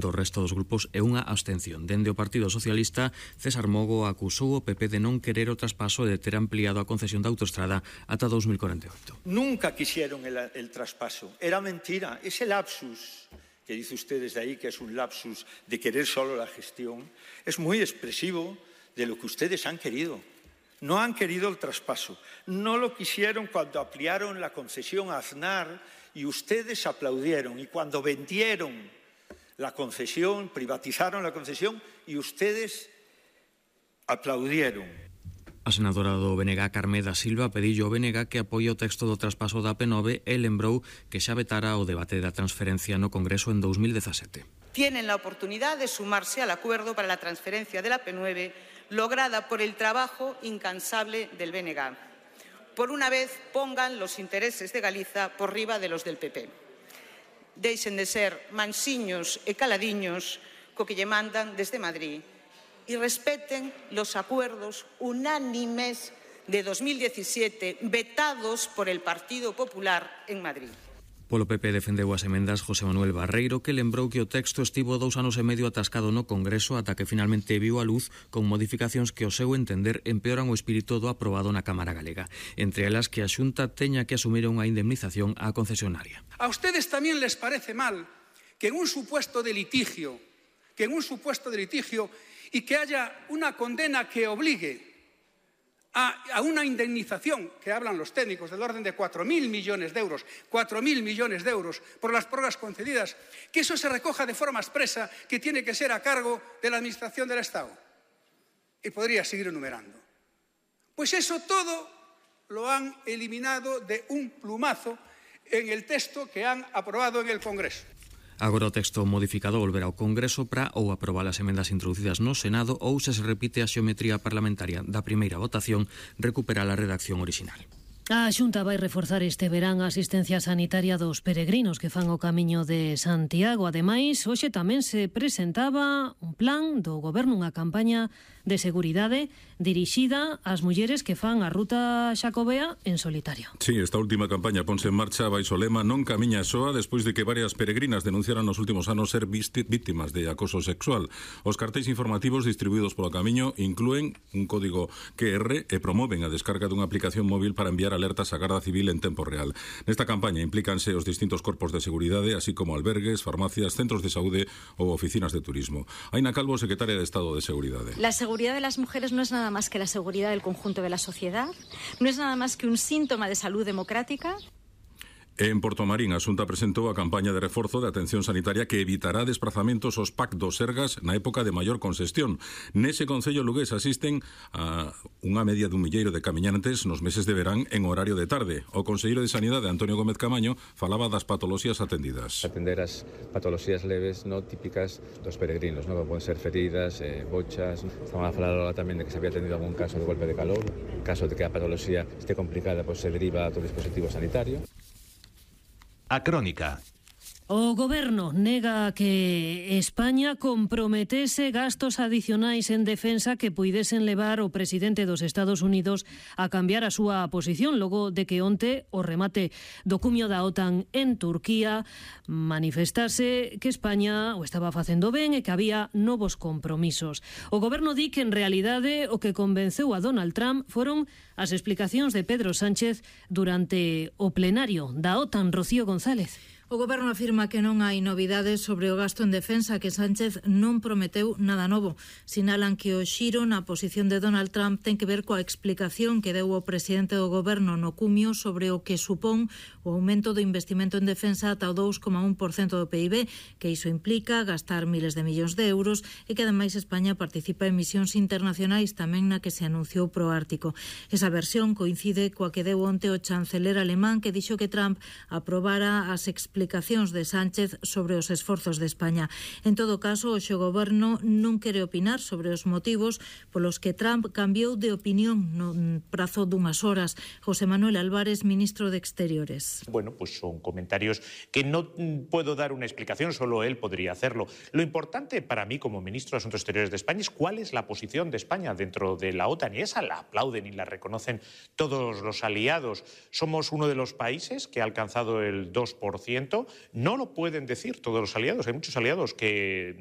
do resto dos grupos e unha abstención. Dende o Partido Socialista, César Mogo acusou o PP de non querer o traspaso e de ter ampliado a concesión da autoestrada ata 2048. Nunca quisieron el traspaso. Era mentira. Ese lapsus que dice ustedes de ahí, que es un lapsus de querer solo la gestión, es muy expresivo de lo que ustedes han querido. No han querido el traspaso. No lo quisieron cuando ampliaron la concesión a Aznar y ustedes aplaudieron. Y cuando vendieron la concesión, privatizaron la concesión y ustedes aplaudieron. A senadora do BNG, Carmeda Silva, pedillo ao BNG que apoie o texto do traspaso da P9 e lembrou que xa vetara o debate da transferencia no Congreso en 2017. Tienen la oportunidad de sumarse al acuerdo para la transferencia de la P9 lograda por el trabajo incansable del BNG. Por una vez pongan los intereses de Galiza por riba de los del PP. Deixen de ser mansiños e caladiños co que lle mandan desde Madrid e respeten los acuerdos unánimes de 2017 vetados por el Partido Popular en Madrid. Polo PP defendeu as emendas José Manuel Barreiro, que lembrou que o texto estivo 2 anos e medio atascado no Congreso ata que finalmente viu a luz con modificacións que, ao seu entender, empeoran o espírito do aprobado na Cámara Galega. Entre elas, que a Xunta teña que asumir unha indemnización á concesionaria. A ustedes tamén les parece mal que en un supuesto de litigio y que haya una condena que obligue a una indemnización, que hablan los técnicos, del orden de 4.000 millones de euros, 4.000 millones de euros por las prórrogas concedidas, que eso se recoja de forma expresa que tiene que ser a cargo de la Administración del Estado. Y podría seguir enumerando. Pues eso todo lo han eliminado de un plumazo en el texto que han aprobado en el Congreso. Agora o texto modificado volverá ao Congreso para ou aprobar as emendas introducidas no Senado ou, se repite a xeometría parlamentaria da primeira votación, recuperar a redacción original. A Xunta vai reforzar este verán a asistencia sanitaria dos peregrinos que fan o camiño de Santiago. Ademais, hoxe tamén se presentaba un plan do Goberno, unha campaña de seguridade dirixida ás mulleres que fan a ruta xacobea en solitario. Sí, esta última campaña ponse en marcha baixo o lema Non camiña soa, despois de que varias peregrinas denunciaran nos últimos anos ser víctimas de acoso sexual. Os cartéis informativos distribuídos polo camiño inclúen un código QR e promoven a descarga dunha aplicación móvil para enviar alertas á Garda Civil en tempo real. Nesta campaña implícanse os distintos corpos de seguridade, así como albergues, farmacias, centros de saúde ou oficinas de turismo. Aina Calvo, secretaria de Estado de Seguridade. La seguridad de las mujeres no es nada más que la seguridad del conjunto de la sociedad, no es nada más que un síntoma de salud democrática. En Portomarín, a Xunta presentou a campaña de reforzo de atención sanitaria que evitará desplazamentos aos PAC dos Sergas na época de maior congestión. Nese concello lugués asisten a unha media dun milleiro de camiñantes nos meses de verán en horario de tarde. O conselleiro de Sanidade, Antonio Gómez Camaño, falaba das patoloxías atendidas. Atender as patoloxías leves no típicas dos peregrinos, no? Poden ser feridas, bochas. Estaban a falar ahora tamén de que se había atendido algún caso de golpe de calor. En caso de que a patoloxía esté complicada, pues se deriva a outro dispositivo sanitario. A Crónica. O Goberno nega que España comprometese gastos adicionais en defensa que puidesen levar o presidente dos Estados Unidos a cambiar a súa posición logo de que onte o remate do cumio da OTAN en Turquía manifestase que España o estaba facendo ben e que había novos compromisos. O Goberno di que en realidade o que convenceu a Donald Trump foron as explicacións de Pedro Sánchez durante o plenario da OTAN. Rocío González. O Goberno afirma que non hai novidades sobre o gasto en defensa, que Sánchez non prometeu nada novo. Sinalan que o xiro na posición de Donald Trump ten que ver coa explicación que deu o presidente do Goberno no cumio sobre o que supón o aumento do investimento en defensa ata o 2,1% do PIB, que iso implica gastar miles de millóns de euros e que ademais España participa en misións internacionais tamén na que se anunciou pro Ártico. Esa versión coincide coa que deu onte o chanceler alemán, que dixo que Trump aprobara as explicacións de Sánchez sobre os esforzos de España. En todo caso, o Goberno non quere opinar sobre os motivos polos que Trump cambiou de opinión no prazo dunhas horas. José Manuel Álvarez, ministro de Exteriores. Bueno, pues son comentarios que no puedo dar una explicación, solo él podría hacerlo. Lo importante para mí como ministro de Asuntos Exteriores de España es cuál es la posición de España dentro de la OTAN, y esa la aplauden y la reconocen todos los aliados. Somos uno de los países que ha alcanzado el 2% momento no lo pueden decir todos los aliados. Hay muchos aliados que